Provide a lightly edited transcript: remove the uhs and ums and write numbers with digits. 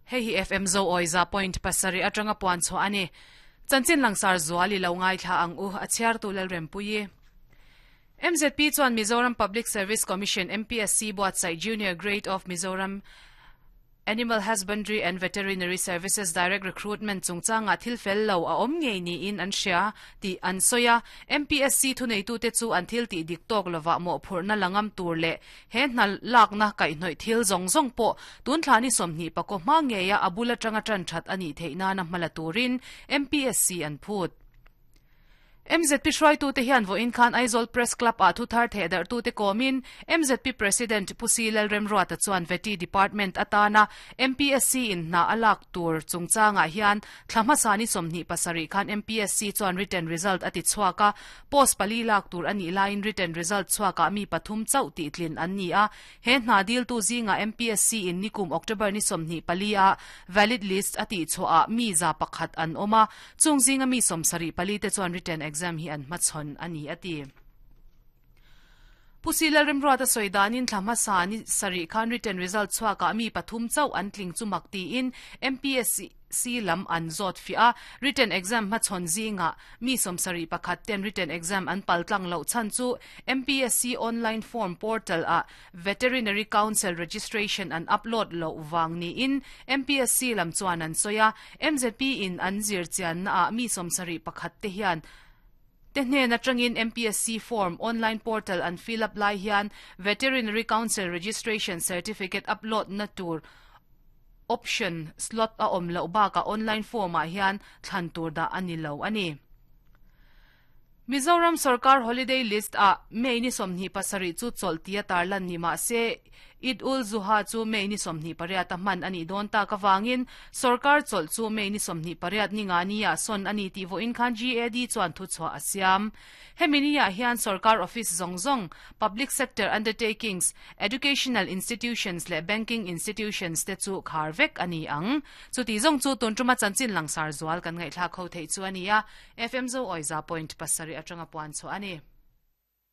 Hei hi FM Zoawi 100.7 atanga puan chhuah a ni. Chanchin langsar zual i lo ngaithla ang u, a chhiartu Lalrempuii. MZP chuan Mizoram Public Service Commission, MPSC, buatsaih Junior Grade of Mizoram Animal Husbandry and Veterinary Services Direct Recruitment chungchangah thil fel lo a awm ngei niin an hria tih an sawi a. MPSC thuneitute chu an thil tih dik tawk lovah mawhphurhna la ngam tur leh he hna lakna kaihhnawih thil zawng zawng pawh tun thla ni 20 pakaw hma ngeia a bul atanga tan that a nih theih nana hma la turin MPSC an phut. MZP hruaitute hian vawiin khan Aizawl Press Club-ah thuthar thehdarhtute kawmin MZP President Pu Si Lalremruata chuan Vety Department atana MPSC in hna a lak tur chungchangah hian thla hmasa ni 27 khan MPSC chuan written result a ti chhuak a, post pali lak tur a nih laiin written result chhuakah mi pathum chauh tihtlin an ni a. He hna diltu zingah MPSC in nikum October ni 24 ah valid list a tihchhuahah mi 101 an awm a, Chung zinga mi 74 te chuan written exam hi an hmachhawn a ni, a ti. Pu Si Lalremruata sawi danin thla hmasa ni sarih khan written result chhuakah mi pathum chauh an tling chu mak tiin MPSC lam an zawt fiah a. Written exam hmachhawn zingah mi 71 ten written exam an paltlang loh chhan chu MPSC online form portal ah Veterinary Council registration an upload loh vang niin MPSC lam chuan an sawi a, MZP in an zir chianna ah mi 71 te hian te hnen atangin MPSC form online portal an fill up lai hian Veterinary Council registration certificate upload na tur option slot a awm loh bakah online form ah hian thlan tur dah a ni lo a ni. Mizoram sorkar holiday list ah May ni 27 chu chawlh tia tarlan ni mah se, Eid ul Zuha chu May ni 28 a hman a nih dawn tak avangin sorkar chawlh chu May ni 28 ni nga ni ah sawn a ni tih vawiin khan GAD chuan thuchhuah a siam. Hemi ni ah hian sorkar office zawng zawng, public sector undertakings, educational institutions leh banking institutions te chu khar vek a ni ang. Chuti zawng chu tun tuma chanchin langsar zual kan ngaihthlak ho theih chu a ni a. FM Zo Awi 100.7 atanga puan chhuah a ni.